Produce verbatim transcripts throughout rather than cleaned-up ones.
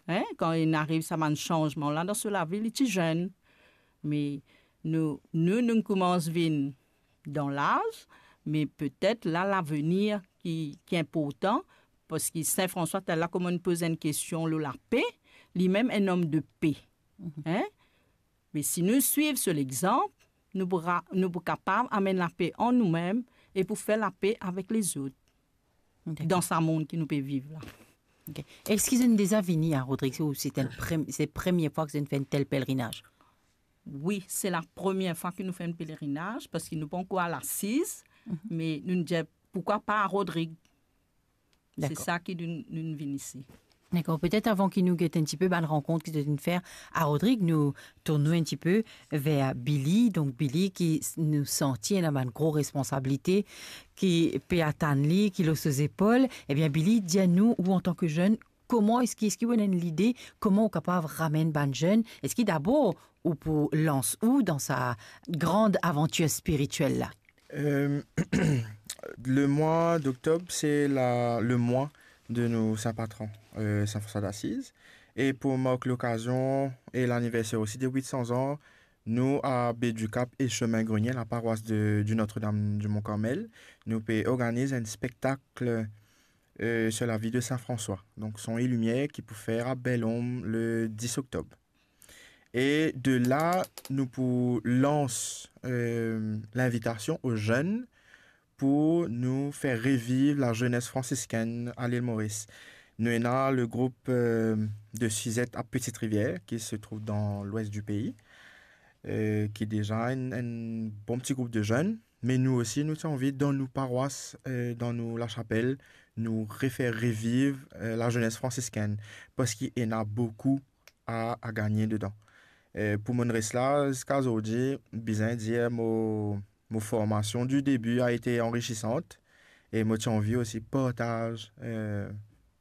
Hein? Kan inn ariv sa bann sanzman la dan so lavi, li ti zenn. Me nou, nou, nou koumans vinn dan laz, me petet la, lavenir ki, ki inportan, parski Sin Franswa, talè la, kouma nou poz enn kestion lor lape, li mem enn om de pe. Mhm. Hein? Me si nou swiv so lexanp, nou pou ra-, nou pou kapav amenn lape an noumem e pou fer lape avek lezot, dakor, dan sa mond ki nou pe viv la. Ok. Eski zot inn deza vini a Rodrig, ou se enn prem-, se premie fwa ki zot inn fer enn tel pelerinaz? Wi, se la premie fwa ki nou fer enn pelerinaz, parski nou pankor al asiz, mhm, me nou dir, poukwa pa a Rodrig? Se, dakor, sa ki nou, nou vinn isi. Dakor, petet avan ki nou get enn tipe bann rankont ki zot inn fer a Rodrig, nou tourn nou enn tipe ver Billy. Donk Billy ki s-, nou santi ena bann gro responsabilite ki pe atann li, ki lor so zepol. Ebien Billy, dir nou, ou antan ki zenn, kouma eski, eski ou ena enn lide, kouma ou kapav ramenn bann zenn? Eski dabor ou pou lans ou dan sa gran avantir spiritiel la? Euh, le mois d'octobre, c'est la, le mois de nou sin patron, euh, Saint François d'Assise. E pou mark lokazion e laniverser osi de wit san zan, nou a Baie du Cap e Chemin Grenier, la paroisse de, du Notre-Dame du Mont Carmel, nou pe organiz enn spektak, euh, sur la vie de Saint François. Donk, son e limier ki pou fer a Bel Ombre le dis oktob. E de la, nou pou lans, euh, linvitasion o zenn pou nou fer reviv la zenes fransiskinn a Lil Moris. Nou ena le group, euh, de Suzette à Petite Rivière, qui se trouve dans l'ouest du pays, euh, ki deza enn, enn bon ti group de zenn. Me nou osi, nou ti anvi dan nou parwas, euh, dan nou lasapel, nou refer reviv, euh, la zenes fransiskinn, parski ena boukou a, a gagne dedan. Euh, pou monn res la ziska zordi, bizin dir mo, mo formasion du début a été enrichissante, e mo ti anvi osi partaz, euh,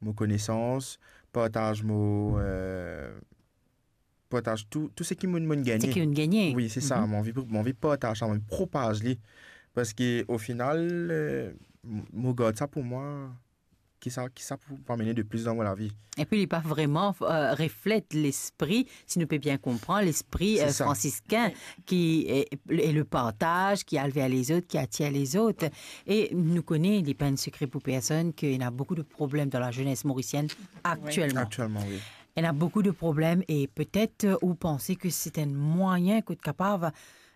mo konesans, partaz mo, euh, partaz tou, tou seki mo'nn, mo'nn gagne. Seki ou'nn gagne. Wi, se sa, mhm, mo anvi, mo anvi partaz sa, mo anvi propaz li. Parski o final, euh, m-, mo gard sa pou mwa, ki sa, ki sa pou, pou amenn de plis dan mo lavi. Epi li pa vreman, euh, reflet lespri, si nou pe bien konpran, lespri, euh, se sa, fransiskin, wi, ki, e, e le partaz, ki al ver lezot, ki atir lezot. E nou kone, li pa enn sekre pou personn, ki ena boukou de problem dan la zenes morisienn, wi, aktielman. Aktielman, wi. Ena boukou de problem e petet, euh, ou panse ki se enn mwayin ki kapav,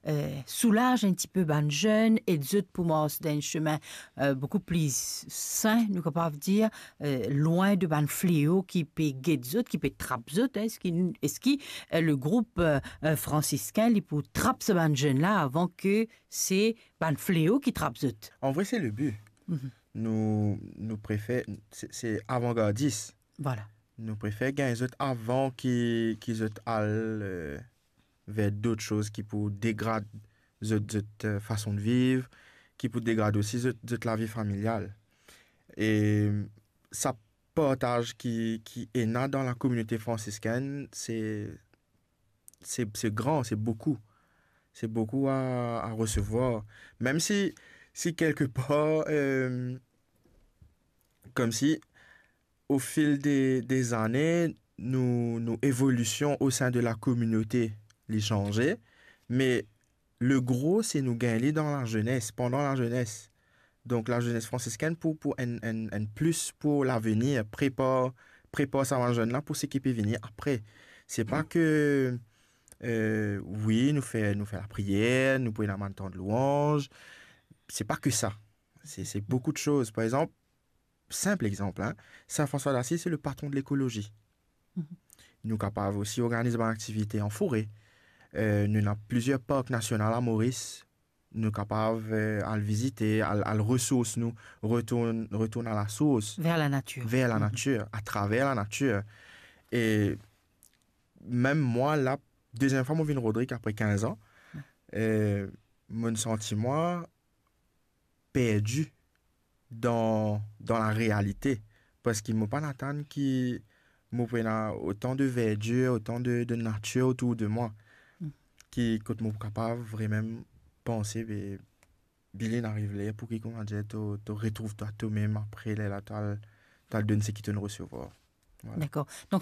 euh, soulaz enn tipe bann zenn, ed zot pou mars dan enn semin, euh, boukou pli sin, nou kapav dir, euh, lwin de bann fleo ki pe get zot, ki pe trap zot, hein, eski, eski, euh, le group, euh, euh, fransiskin, li pou trap sa bann zenn la avan ki se bann fleo ki trap zot? An vre, se le bi. Mhm. Nou, nou prefer, se, se avangardis. Vwala. Nou prefer gagn zot avan ki, ki zot al, euh, ver dot soz ki pou degrad zot, zot, euh, fason de viv, ki pou degrad osi zot, zot lavi familial. E sa partaz ki, ki ena dan la kominote fransiskin, se, se, se gran, se boukou. Se boukou a, a resevwar. Mem si, si kelkepar, euh, koumsi, o fil de, de zane, nou, nou evolision o sin de la kominote, li sanze, me le gro, se nou gagn li dan la zenes, pandan la zenes. Donk, la zenes fransiskin pou, pou enn, enn, enn plis pou lavenir, prepar, prepar sa bann zenn la pou seki pe vini apre. Se pa ke, euh, wi, nou fer, nou fer lapriyer, nou pou ena bann tan de lwanz. Se pa ke sa. Se, se boukou de soz. Par exanp, sinp exanp, hein, Saint François d'Assise, se le patron de lekolozi. Mhm. Nou kapav osi organiz bann aktivite an fore. Euh, nou ena plizier park nasional a Moris. Nou kapav, euh, al vizite, al, al resours nou, retourn, retourn a la sours. Ver la natir. Ver la natir, atraver la natir. E mem mwa la, deziem fwa mo vinn Rodrig apre kinz an, euh, mo'nn santi mwa perdi dan, dan la realite. Parski mo pa'nn atann ki mo pou ena otan de verdir, otan de, de natir otour de mwa, mm, ki kot mo pou kapav vremem panse, be, Billy, inn ariv ler pou ki, koumadir, to, to retrouv twa tomem apre lerla to al, to al donn seki to'nn resevwar. Vwala. Dakor. Donk,